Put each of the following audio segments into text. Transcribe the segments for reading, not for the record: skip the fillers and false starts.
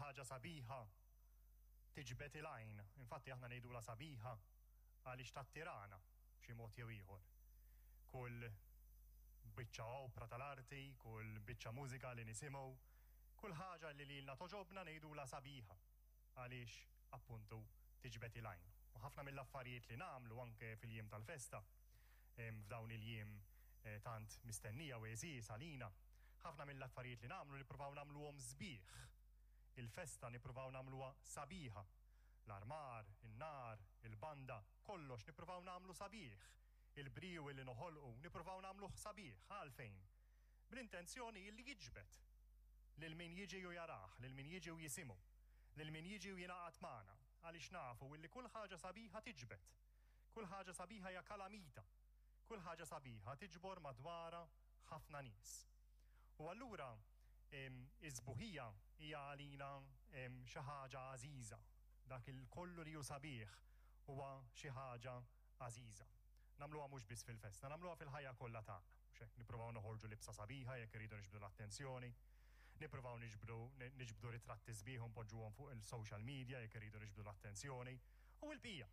ħaġa sabiħa tiġbed il-għajn. Infatti aħna ngħidulha sabiħa għaliex tattirana b'xi mod jew ieħor. Kull biċċa opra tal-arti, kull biċċa mużika li nisimgħu, kull ħaġa li lilna togħġobna ngħidulha sabiħa għaliex appuntu tiġbed il-għajn. U ħafna mill-affarijiet li nagħmlu anke fil-jiem tal-festa, f'dawn il-jiem tant mistennija u għeżież għalina, ħafna mill-affarijiet li nagħmlu nippruvaw nagħmluhom sbieħ. Il-festa nippruvaw nagħmluha sabiħa. L-armar, in-nar, il-banda, kollox nippruvaw nagħmlu sabiħ. Il-briju li noħolqu nippruvaw nagħmluh sabiħ. Għalfejn? Bl-intenzjoni li jiġbed lil min jiġi u jarah, lil min jiġi u jisimgħu, lil min jiġi u jingħaqad magħna, għaliex nafu illi kull ħaġa sabiħa tiġbed. Kull ħaġa sabiħa hija kalamita. Kull ħaġa sabiħa tiġbor madwarha ħafna nies. U allura is-sbuħija hija għalina xi ħaġa għażiża. Dak il kollu li hu sabiħ huwa xi ħaġa għażiża. Nagħmluha mhux biss fil-festa, nagħmluha fil-ħajja kollha tagħna. Mhux hekk? Nippruvaw noħorġu libsa sabiħa jekk irridu niġbdu l-attenzjoni. Nippruvaw niġbdu niġbdu ritratti sbieħ u npoġġuhom fuq il-social media jekk irridu niġbdu l-attenzjoni. U l-bqija.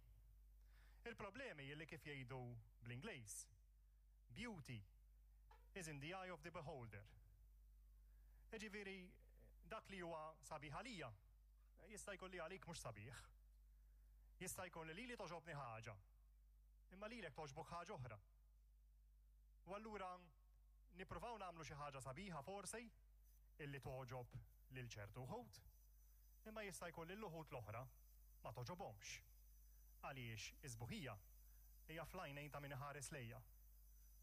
Il-problemi li kif jgħidu bl-Ingliż, beauty is in the eye of the beholder. Jiġifieri dak li huwa sabiħ għalija, jista' jkun li għalik mhux sabiħ. Jista' jkun li lili togħġobni ħaġa, imma lilek togħġbok ħaġa oħra. U allura nippruvaw nagħmlu xi ħaġa sabiħa forsi illi togħġob lil ċertu wħud, imma jista' jkun lil uħud l-oħra ma togħġobhomx. Għaliex is-sbuħija hija fl-għajnejn ta' min iħares lejha,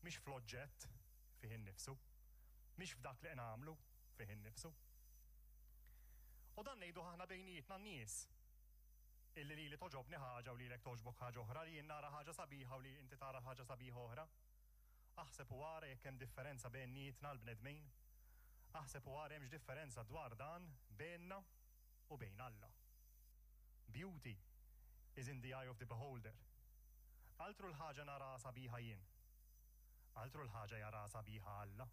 mhix fl-oġġett fih innifsu, mhix f'dak li nagħmlu fih innifsu. U dan ngħiduh aħna bejnietna n-nies, illi lili togħġobni ħaġa u lilek togħġbok ħaġa oħra, li jien nara ħaġa sabiħa u li inti tara ħaġa sabiħa oħra. Aħseb u ara jekk hemm differenza bejnietna l-bnedmin. Aħseb u ara hemmx differenza dwar dan bejnna u bejn Alla. Beauty is in the eye of the beholder. Altru l-ħaġa naraha sabiħa jien. Altru l-ħaġa jaraha sabiħa Alla.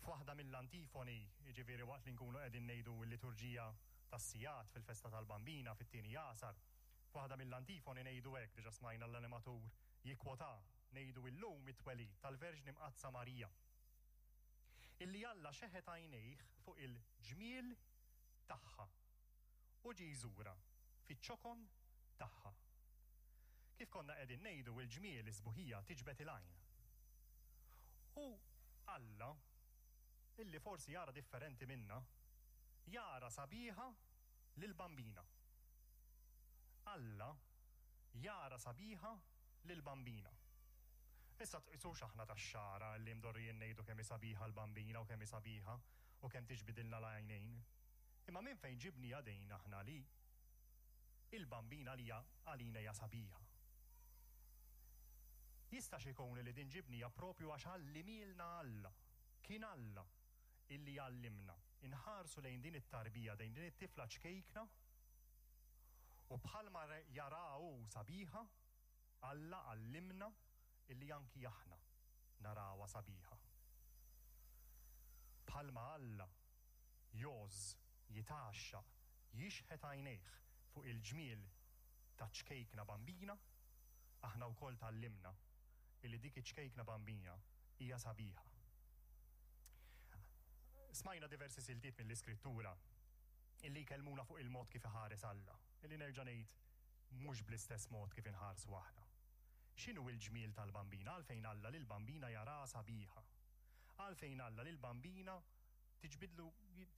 F'waħda mill-antifoni, jiġifieri waqt li nkunu qegħdin ngħidu l-liturġija tas-sigħat fil-festa tal-Bambina fit-tieni għasar, f'waħda mill-antifoni ngħidu hekk, diġà smajna l-animatur jikkwota, ngħidu illum it-twelid tal-Verġni Mqaddsa Marija. Illi Alla xeħet għajnejh fuq il-ġmiel tagħha u ġie jżurha fiċ-ċokon tagħha. Kif konna qegħdin ngħidu, il-ġmiel, is-sbuħija tiġbed il-għajn. U Alla, illi forsi jara differenti minna, jara sabiħa lill-Bambina. Alla jara sabiħa lill-Bambina. Issa tqisux aħna tax-xagħra li mdorrijin ngħidu kemm hi sabiħa l-Bambina u kemm hi sabiħa u kemm tiġbidilna l-għajnejn. Imma minn fejn ġibniha din aħna li il-Bambina għalija għalina hija sabiħa? Jistax ikun li din ġibniha propju għax għallimielna Alla. Kien Alla illi għallimna inħarsu lejn din it-tarbija, lejn din it-tifla ċkejkna u bħalma jaraha hu sabiħa, Alla għallimna illi anki aħna narawha sabiħa. Bħalma Alla jgħożż, jitgħaxxaq, jixħet għajnejh fuq il-ġmiel taċ-ċkejkna bambina, aħna wkoll tgħallimna illi dik iċ-ċkejkna bambina hija sabiħa. Smajna diversi siltiet mill-Iskrittura illi jkellmuna fuq il-mod kif iħares Alla, illi nerġa' ngħid mhux bl-istess mod kif inħarsu aħna. X'inhu l-ġmiel tal-Bambina? Għalfejn Alla lill-Bambina jaraha sabiħa? Għalfejn Alla lill-Bambina tiġbidlu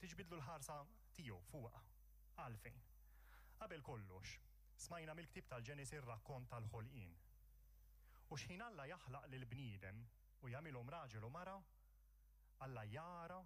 tiġbidlu l-ħarsa tiegħu fuqha? Għalfejn? Qabel kollox, smajna mill-ktieb tal-Ġenesi r-rakkont tal-ħolqien. U x'ħin Alla jaħlaq lill-bniedem u jagħmilhom raġel u mara, Alla jara.